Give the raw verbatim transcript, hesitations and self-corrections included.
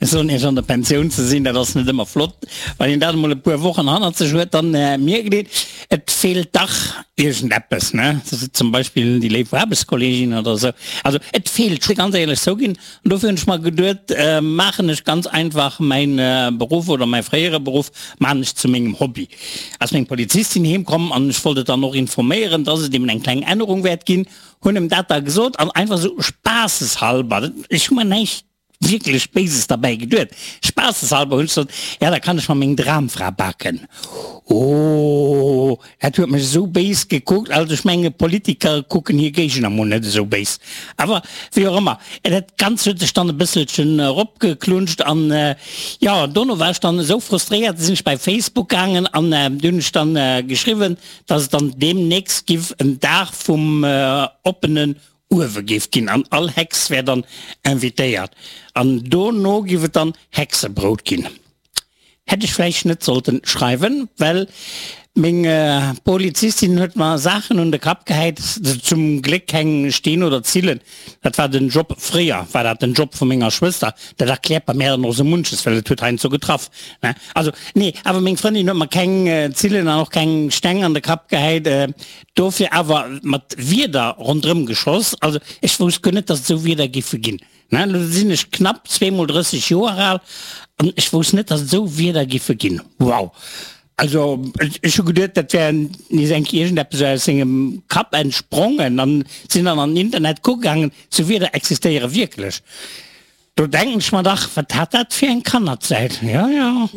Ech soen Iech, an der Pensioun ze sinn, dat ass net ëmmer flott. Wann een dat emol e puer Wochen hannert sech huet, dann mierkt een, et feelt dach iergendeppes, ne? Zum Beispill déi léif Aarbechtskolleegin oder esou. Also et feelt, ech ganz éierlech zouginn. An dofir hunn ech mer geduet, maachen ech ganz einfach mäin Beruff oder mäi fréiere Beruff maachen ech zu mengem Hobby. Ass meng Polizistin heem komm an ech wollt et dann och informéieren, dass et eben eng kleng Ännerung wäert ginn, hunn em dat da gesot an einfach esou spaasseshalber, ech hu mer näischt wierklech Béises derbäi geduet, spaasseshalber hunn ech gesot, ja da kann ech mer meng Dramfra baken. Oh, dat huet mech esou béis gekuckt, also ech menge Politiker kucken hir Géigner mol net esou béis. Awer wéi och ëmmer, dat Ganzt huet sech dann e bësselchen eropgeklunscht an jo, dono war ech dann esou frustréiert, sinn ech bei Facebook gaangen an do hunn ech dann geschriwwen, dass et dann deemnächst giff en Dag vum oppenen Uewe géif ginn an all Hex wär dann invitéiert an dono giff et dann Hexebrout ginn. Hätt ech vläicht net sollten schreiwen, well meng Polizistin huet mer Saachen un de Kapp gehäit, zum Gléck keng Steen oder Zillen, dat war den Job, fréier war dat den Job vu menger Schwëster, dat erkläert bei mär dann och sou munches, well et huet heiansdo getraff, ne, also nee, awer meng Frëndin huet mer keng Zillen an och keng Steng an de Kapp gehäit, dofir awer mat Wierder ronderëm geschoss, also ech wousst guer net, dass et sou Wierder giffe ginn. Ne, elo sinn ech knapp zweemol drësseg Joer al an ech wousst net, dass et esou Wierder giffe ginn. Wow! Also ech hu geduet, dat wär nees eng Kéier iergendeppes aus sengem Kapp entsprongen an sinn dann an den Internet kucke gaangen, esou Wierder existéiere wierklech. Do denken ech mer dach, wat hat dat fir eng Kannerzäit? Jo, jo.